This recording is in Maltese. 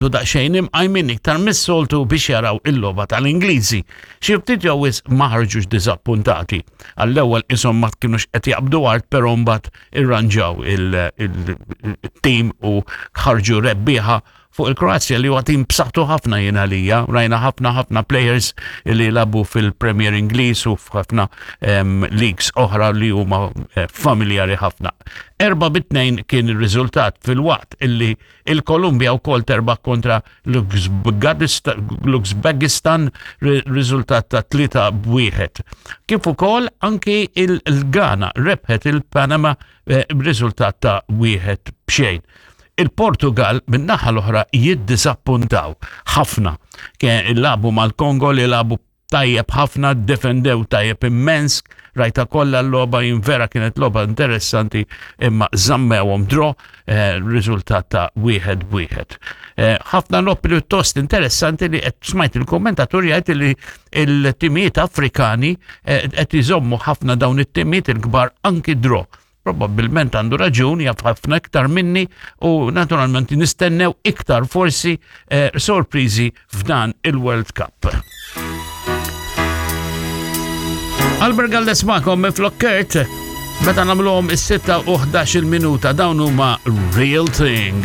U daqsxejn imqajmin iktar mis-soltu biex jaraw il-logħba tal-Ingliżi. Xi ftit jew wisq ma ħarġux diżappuntati. Għall-ewwel qishom ma kinux qed jaqbdu art però mbagħad irranġaw il-tim u ħarġu rebbieħa fuq il-Kroazja li huwa tim b'saħħtu ħafna jien għalija. Rajna ħafna ħafna players li labu fil-Premier Ingliż u f'ħafna leagues oħra li huma eh, familjari ħafna. 4-2 kien ir-riżultat fil-waqt illi Il-Kolumbja wkoll terbaħ kontra l-Uzbekistan riżultat ta' 3-1. Kif ukoll anki il-Ghana rebħet il-Panama eh, b'riżultat ta' wieħed b'xejn. Il-Portugal min-naħa l-oħra jiddiżappuntaw ħafna. Labu mal-Kongo li labu tajjeb ħafna, defendew tajjeb immens, rajta kollha l-logħba jien vera kienet logħba interessanti imma żammewhom draw, eh, riżultat ta' wieħed b'wieħed. Eh, ħafna logħob pjuttost interessanti li qed smajt il-kommentatur jgħid li il-timijiet Afrikani eh, qed iżommu ħafna dawn it-timijiet il-kbar anki draw. Probabbilment għandu raġun, jaf ħafna iktar minni u naturalment nistennew iktar forsi eh, sorpriżi f'dan il-World Cup. Albert Galdes magħkom minn Flokkert, meta nagħmluhom is-6 u 11 minuta dawn huma Real Thing.